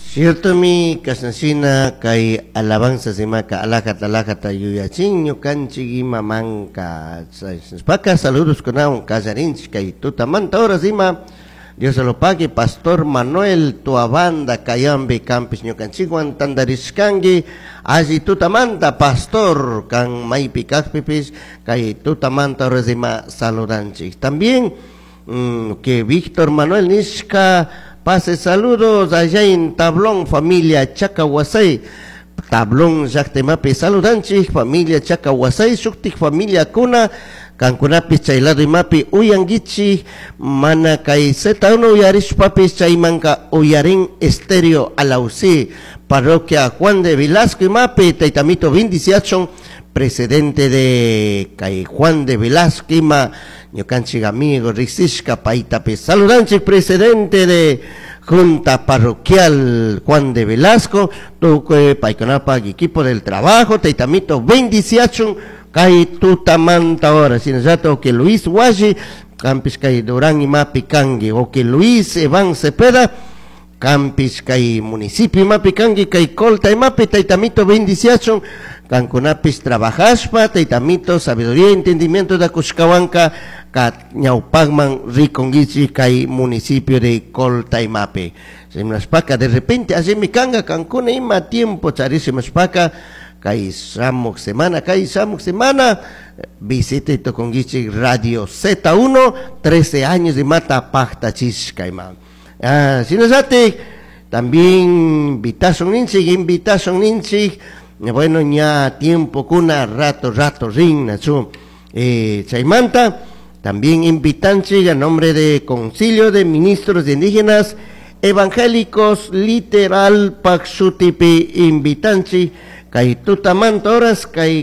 Ciertomi kashnashina kay alabanzas imaka alajata alajata yuyachin ñukanchik imamanka nishpaka saludos kunawan kallarinchik kay tutamanta horas ima. Dios lo pague, Pastor Manuel Tuabanda kayambi kanpish ñukanchikwan tandarishkanki. Alli tutamanta, Pastor, kan maypi kajpipish kay tutamanta horas ima saludanchik. También que Víctor Manuel nishka pase saludos allá en Tablón, familia Chacahuasay. Tablón llaqtaimapi saludanchik, familia Chacahuasay, shuktik familia kuna kankunapis chay lado imapi uyankichik, mana kay Z1 uyarishpapis chaymanka uyarin Estéreo Alausí, parroquia Juan de Velasco imapi. Taytamito bendiciachun, presidente de kay Juan de Velasco ima, ñukanchik amigo riksishka paytapi saludanchik, presidente de Junta Parroquial Juan de Velasco, tukuy paykunapaq equipo del trabajo, taytamito bendiciachun kay tutamanta hora. Shinallatak que Luis Washi, kanpish kay Durán imapi kanki, o que Luis Evan Cepeda, kanpish kay municipio imapi kanki, kay Colta imapi, taytamito bendiciachun, kankunapis trabajashpa, taytamito sabiduría y entendimiento da kushkawanka, ka ñawpakman rikunkichik kay municipio de Colta imapi. Shimashpaka de repente allimi kanka kankuna ima tiempo charishimashpaka kay shamuk semana visita tukunkichik Radio Z1, 13 años de mata paktachishka ima. Ah, shinallatik también invitación ninchik, bueno, ña tiempo kuna rato rato rin nachu. Chaymanta también invitanchik a nombre de Concilio de Ministros de Indígenas Evangélicos Literal pak shutipi invitanchik kay tutamanta horas kay